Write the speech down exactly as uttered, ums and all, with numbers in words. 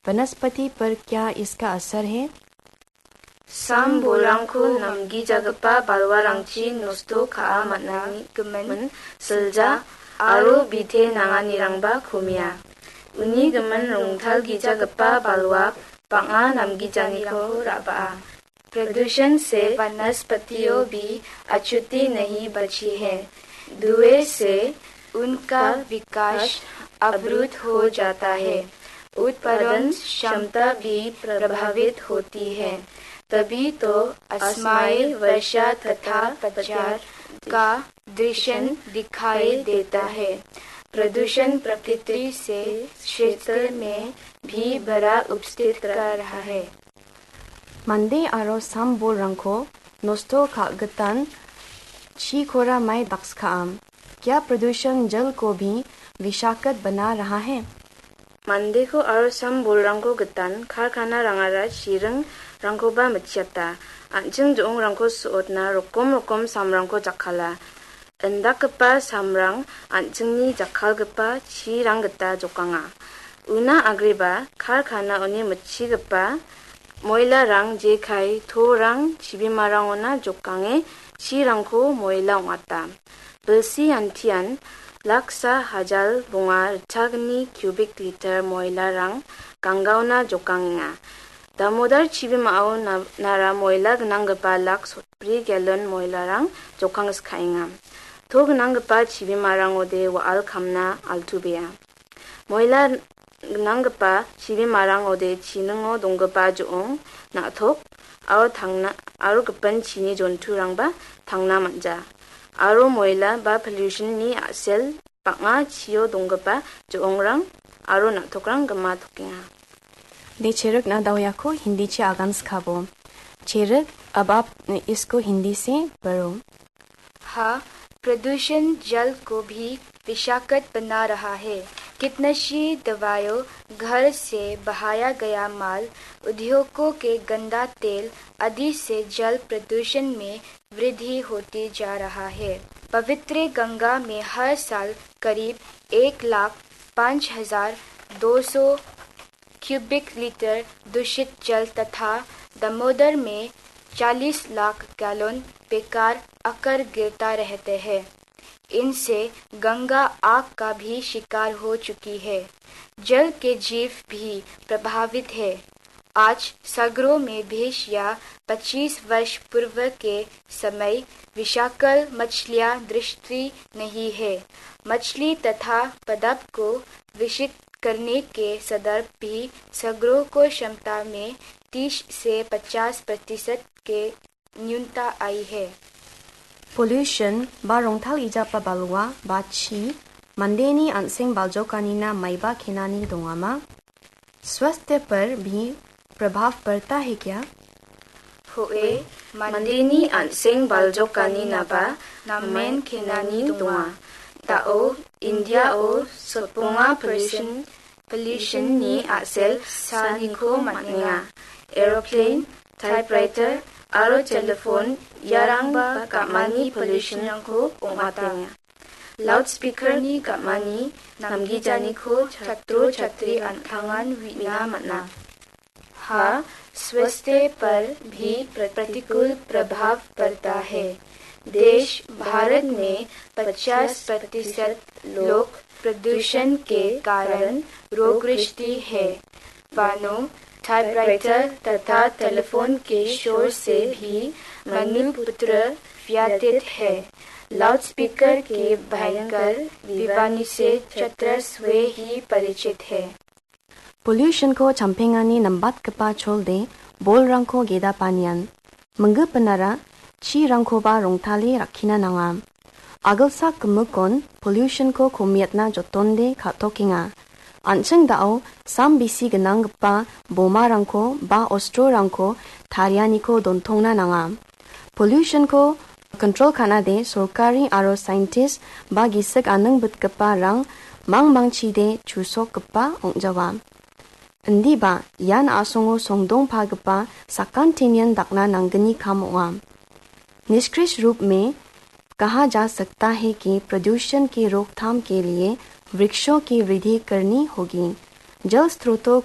वनस्पति पर क्या इसका असर है? Sam bolrangko namgijagipa balwarangchi nosto ka·a man·a gimin silja aro bite nanganirangba komia. Uni gimin rongtalgijagipa balwa bang·a namgijaniko ra·baa. प्रदूषण से वनस्पतियों भी अछूती नहीं बची है। धुएं से उनका विकास अवरुद्ध हो जाता है, उत्पादन क्षमता भी प्रभावित होती है। तभी तो असमय वर्षा तथा पतझड़ का दृश्य दिखाई देता है। प्रदूषण प्रकृति से क्षेत्र में भी बड़ा उपस्थित कर रहा है। Mande aro sam bolrangko nosto ka·gitan chikora mai dakskaam. क्या प्रदूषण जल को भी विषाक्त बना रहा है? Mandeko aro sam bolrangko gitan karkana rangara chiringrangkoba mitchiata. An·ching jo·ongrangko so·otna rokom rokom samrangko jakkala. Indakgipa samrang an·chingni jakkalgipa chirang gita jokanga. Una agreba karkanaoni mitchigipa moilarang jekai torang chibimarangona jokange chirangko moila ong·ata. Bilsi antian laksa hajal bonga ritchagni cubic liter moilarang ganggaona jokangenga. Damodar chibimao na-, nara moila gnanggipa lak sotbri galon moilarang jokangskaenga. To gnanggipa chibimarangode wa·al kamna altubea. Moila gnanggipa chibimarangode chiningo donggipa jo·ong, na·tok, aro tangna, aro gipin chini jonturangba tangna man·ja. Aro moila ba pollution-ni a·sel bang·a chio donggipa jo·ongrang aro na·tokrang gima tokenga. De cherikna daoyako Hindi chi agan skabo. Cherik, ab aap isko Hindi se paro. हाँ, प्रदूषण जल को भी विषाक्त बना रहा है। कीटनाशी दवाइयों, घर से बहाया गया माल, उद्योगों के गंदा तेल आदि से जल प्रदूषण में वृद्धि होती जा रहा है। पवित्र गंगा में हर साल करीब एक लाख पाँच हजार दो सौ क्यूबिक लीटर दूषित जल तथा दामोदर में चालीस लाख गैलन बेकार आकर गिरता रहते हैं। इनसे गंगा आग का भी शिकार हो चुकी है। जल के जीव भी प्रभावित है। आज सागरों में बीस या पच्चीस वर्ष पूर्व के समय विषाक्त मछलियां दृष्टि नहीं है। मछली तथा पादप को विषित करने के संदर्भ भी सागरों को क्षमता में तीस से पचास प्रतिशत के न्यूनता आई है। Pollution ba rongtal ijapa balwa ba chi mandeni an·seng baljokanina maiba kenani dongama? स्वास्थ्य पर भी प्रभाव पड़ता है क्या? Hoe, mandeni an·seng baljokaninaba namen kenani donga. Da·o India-o sotbonga pollution, pollution-ni a·sel saniko man·enga. Aeroplane, typewriter aro telephone iarangba gam·ani pollution-rangko ong·atenga. Loudspeaker-ni gam·ani namgijaniko chatro chatri an·tangan uina man·a. हाँ, स्वास्थ्य पर भी प्रतिकूल प्रभाव पड़ता है। देश भारत में पचास प्रतिशत लोग प्रदूषण के कारण रोगग्रस्त है। वाहनों, टाइपराइटर तथा टेलीफोन के शोर से भी मनुपुत्र व्याथित है। लाउडस्पीकर के भयंकर विवानी से छात्र स्वयं ही परिचित है। Pollution-ko champengani nambatgipa cholde bolrangko gedapanian, minggipinara chirangkoba rongtale rakkina nanga. Agilsak gimikon pollution-ko komiatna jotonde ka·tokenga. An·ching da·o sam bisi gnanggipa bomarangko ba ostrorangko tarianiko dontongna nanga. Pollution-ko control ka·nade sorkari aro scientist ba gisik aning bitgipa rang mangmangchide chusokgipa ong·jawa. Indiba ian a·songo songdongpagipa sakantinian dakna nanggni kam ong·a. निष्कर्ष रूप में कहा जा सकता है कि प्रदूषण की रोकथाम के लिए वृक्षों की वृद्धि करनी होगी। जल स्रोतों